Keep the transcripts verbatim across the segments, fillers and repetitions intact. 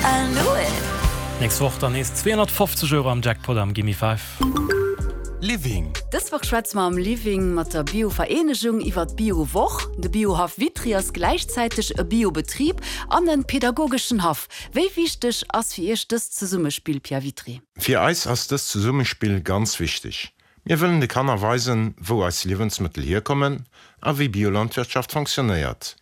I knew it! Nächst Woch dann nees zweehonnertfofzeg Euro am Jackpot am Gimme Five. Living. Dës Woch schwätze mer am Living mat der Bio-Vereenegung iwwer d'Bio-Woch. De Biohaff Vitry ass gläichzäiteg e Bio-Betrib an e pedagogeschen Haff. Wéi wichteg ass fir Iech dëst Zesummespill, Pierre Vitry? Fir eis ass dëst Zesummespill ganz wichteg. Mir wëllen de Kanner weisen, wou eis Liewensmëttel hierkommen a wéi Biolandwirtschaft fonctionnéiert.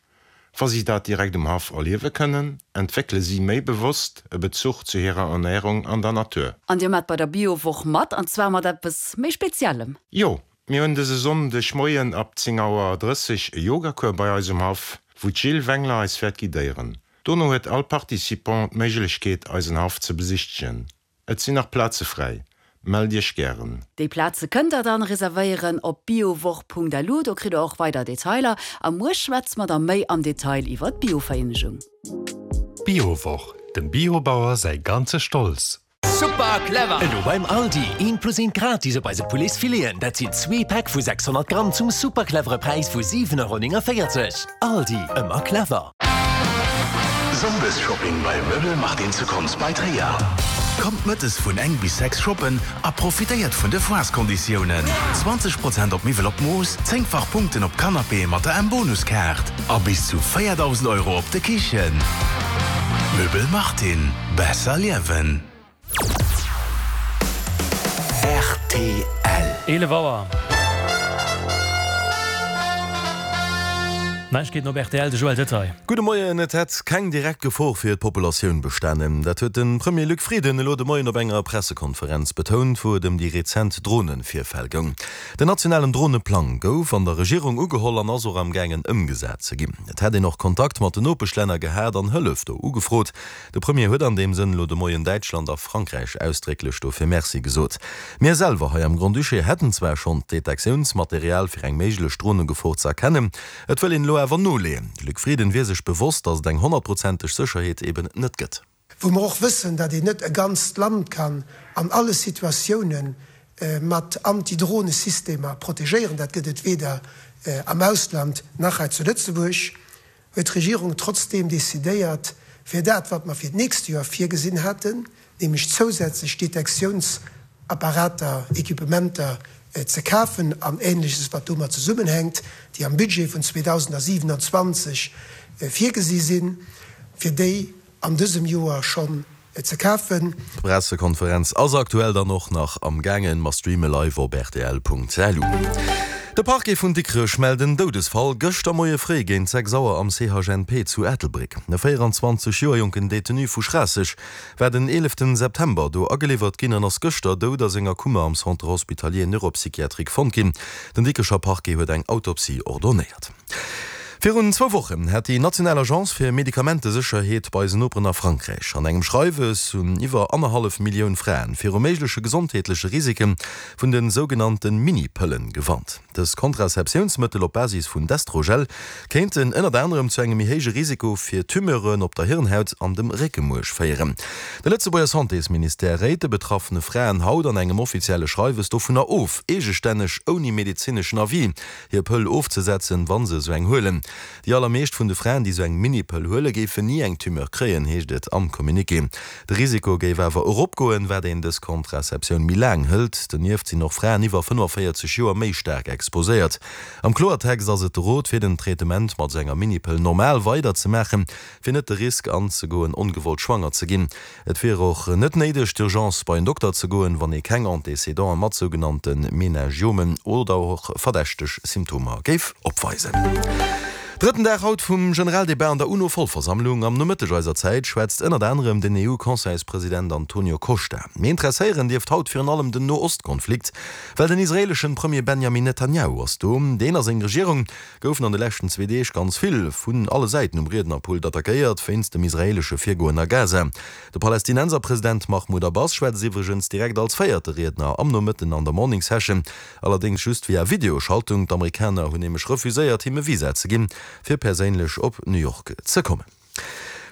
Wa si dat direkt um Haff erliewe kënnen, entwéckele si méi bewosst e Bezuch zu hirer Ernärung an der Natur. An Dir maacht bei der Biowoch mat, an zwar mat eppes méi Speziellem. Jo, mir hunn dëse Sonndeg Moien ab zéng Auer drësseg e Yogacours bei eis um Haff, wou d'Jill Wengler eis wäert guidéieren. Dono huet all Participant d'Méiglechkeet, eisen Haff ze besichtegen. Et sinn nach Plaze fräi, mellt iech gären. Déi Plaze kënnt der dann reservéieren op biowoch.lu, do kritt der och weider Detailer. A muer schwätze mer da méi am Detail iwwer d'Biovereenegung. Biowoch, dem Biobauer säi ganze Stolz. Super clever! Elo beim Aldi, eent plus eent gratis op eise Pouletsfileten. Dat sinn zwee Päck vu sechshonnert Gramm zum super clevere Präis vu siwen Euro néngenvéierzeg. Aldi, ëmmer clever! Sonndesshopping bei Möbel Martin zu Konz bei Tréier. Kommt mëttes vun eng bis sechs shoppen a profitéiert vun de Foireskonditiounen. zwanzeg Prozent op Miwwel op Mooss, zéngfach Punkten op Canapéë mat der M-Bonuskaart a bis zu véierdausend Euro op de Kichen. Möbel Martin, besser liewen. Rtl. Eelef Auer. Neiegkeeten op rtl, de Joël Detail. Gudde Moien, Et hätt keng direkt Gefor fir d'Populatioun bestanen. Dat huet de Premier Luc Frieden elo de Moien op enger Pressekonferenz betount, wou et ëm déi rezent Dronevirfäll goung. Den nationalen Droneplang gouf an der Regierung ugeholl an ass och am gaangen ëmgesat ze ginn. Et hätt een och Kontakt mat den Nopeschlänner gehat an Hëllef do ugefrot. De Premier huet an deem Sënn elo de Moien Däitschland a Frankräich ausdrécklech dofir Merci gesot. Mir selwer hei am Grand-Duché hätten zwar schonn d'Detektiounsmaterial fir eng méiglech Dronegefor ze erkennen, et wëll een elo awer noleeën. De Luc Frieden wier sech bewosst, datt et eng honnertprozenteg Sécherheet eben net gëtt. Wou mer och wëssen, datt een net e ganzt Land kann an alle Situatioune mat Anti-Drohne-Systemer protegéieren, dat gëtt et weder am Ausland nach hei zu Lëtzebuerg, huet d'Regierung trotzdeem decidéiert, fir dat, wat mer fir d'nächst Joer virgesinn haten, nämlech zousätzlech Detektiounsapparater, Equipementer ze kafen an Ähnleches, wat domat zesummenhänkt, déi am Budget vun zweedausendsiewenundzwanzeg virgesi sinn, fir déi an dësem Joer schonn ze kafen. D'Pressekonferenz ass aktuell dann och nach am gaangen. Mer streame live op rtl.lu. De Parquet vun Dikrech mellt en Doudesfall gëschter Moie fréi géint sechs Auer am C H N P zu Ettelbréck. E véieranzwanzeg Joer jonken Detenu vu Schraasseg war den eeleften September do ageliwwert ginn an ass gëschter dout a senger Kummer am Centre hospitalier neuropsychiatrique fonnt ginn. Den Dikrecher Parquet huet eng Autopsie ordonnéiert. Virun zwou Wochen hat déi national Agence fir Medikamentesécherheet bei eisen Noperen a Frankräich an engem Schreiwes un iwwer annerhallef Millioun Fraen viru méigleche gesondheetleche Risike vun de sougenannte Mini-Pëllen gewarnt. Dës Kontrazeptiounsmëttel op Basis vun Destrogel kéinten ënnert anerem zu engem méi héije Risiko fir Tumeuren op der Hirnhaut an dem Réckemuerch féieren. De Lëtzebuerger Santésministère réit de betraffene Fraen haut an engem offizielle Schreiwes dovunner of, eegestänneg ouni medezineschen Avis hir Pëll ofzesetzen, wa se esou eng huelen. Déi allermeescht vun de Fraen, déi esou eng Mini-Pëll huelen, géifen ni eng Tumeur kréien, heescht et am Communiqué. De Risiko géif awer eropgoen, wat een dës Contraceptioun méi laang hëlt. Donieft sinn och Fraen iwwer fënnefenvéierzeg Joer méi staark exposéiert. Am Kloertext ass et de Rot, fir den Traitement mat esou enger Mini-Pëll normal weider ze maachen, fir net de Risk anzegoen, ongewollt schwanger ze ginn. Et wier och net néideg, d'Urgence bei en Dokter ze goen, wann ee keng Antécédenten mat sougenannte Meningiomen oder och verdächteg Symptomer géif opweisen. Drëtten Dag haut vum Generaldebat an der UNO-Vollversammlung. Am Nomëtteg eiser Zäit schwätzt ënnert anerem den E U-Conseilspresident Antonio Costa. Mee interesséieren dierft haut virun allem den No-Ost-Konflikt, well den israeeleschen Premier Benjamin Netanjahu ass do. Deen a seng Regierung goufen an de leschten zwee Deeg ganz vill vun alle Säiten um Riednerpult attackéiert wéinst dem israeelesche Virgoen a Gaza. De Palästinenserpresident Mahmoud Abbas schwätzt iwwregens direkt als véierte Riedner am Nomëtten an der Morning Session, allerdéngs just via Videoschaltung. D'Amerikaner hunn nämlech refuséiert, him e Visa ze ginn, fir perséinlech op New York ze kommen.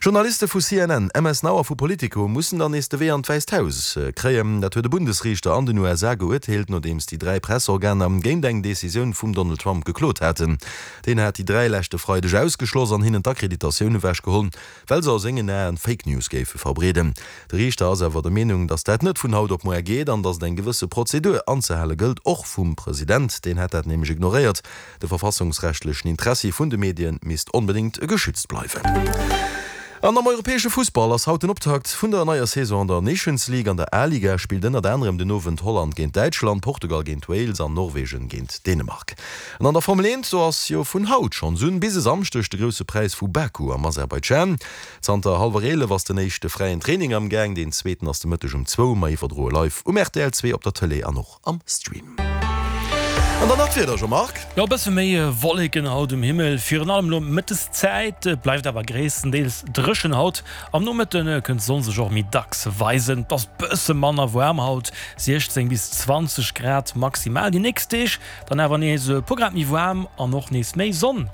Journaliste vu C N N, M S Now a vu Politico mussen dann nees de Wee an d'Wäisst Haus kréien. Dat huet e Bundesriichter an den U S A geurteelt, nodeems déi dräi Pressorganer géint eng Decisioun vum Donald Trump geklot haten. Deen hat déi dräi leschte Freideg ausgeschloss an hinnen d'Akkreditatioun ewechgeholl, well se a sengen Aen Fake News géife verbreeden. De Riichter ass awer der Meenung, datt dat net vun haut op muer geet an datt et eng gewësse Prozedur anzehale gëllt, och vum President. Deen hätt dat nämlech ignoréiert. De verfassungsrechtlechen Interessi vun de Medien misst onbedéngt geschützt bleiwen. An am europäesche Fussball ass haut den Optakt vun der neier Saison an der Nations League. An der A-Liga spillt ënnert anerem den Owend Holland géint Däitschland, Portugal géint Wales an Norwegen géint Dänemark. An an der Formel eent, do ass jo vun haut schonns un bis e Samschdeg de Grousse Präis vu Baku am Aserbaidschan. Zanter hallwer eelef ass den éischte fräien Training am Gaang, deen zweeten ass de Mëtteg um zwou. Mer iwwerdroe live um R T L zwee op der Tëlee an och am Stream. An dann nach d'Wieder, Jean-Marc. Jo, e bësse méi Wolleken haut um Himmel, virun allem elo Mëtteszäit, bleift awer gréisstendeels dréchen haut. Am Nomëtte kënnt d'Sonn sech och méi dacks weisen. Et ass bësse manner waarm haut, siechzéng bis zwanzeg Grad maximal. Déi nächst Deeg dann awer nees e puer Grad méi waarm an och nees méi Sonn.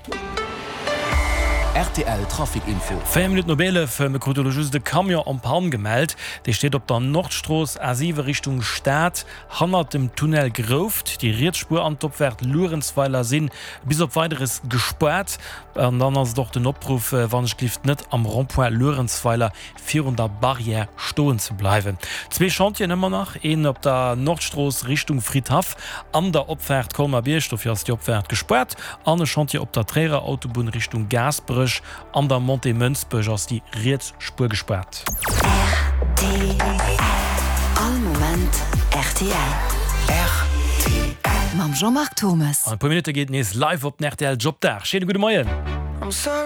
R T L Trafic Info. Véier Minutten op eelef, mir krute elo just e Camion en panne gemellt. Dee steet op der Nordstrooss A siwe Richtung Stad, hannert dem Tunnel Grouft. Déi riets Spuer an d'Opfaart Luerenzweiler si bis op Weideres gespaart. An dann ass et och den Opruff, wann ech gelift net am Rond-point Luerenzweiler virun der Barrière stoen ze bleiwen. Zwee Chantieren ëmmer nach, een op der Nordstrooss Richtung Fridhaff an der Opfaart Colmar-Bierg, dofir ass déi Opfaart gespaart, an e Chantier op der Tréierer Autobunn Richtung Gaasperech, an der Montée Mënsbech ass déi riets Spuer gespaart. R T L. All Moment R T L. R T L. Mam Jean-Marc Thomas. An e puer Minutte geet nees live op den R T L Jobdag. Schéine gudde Moien.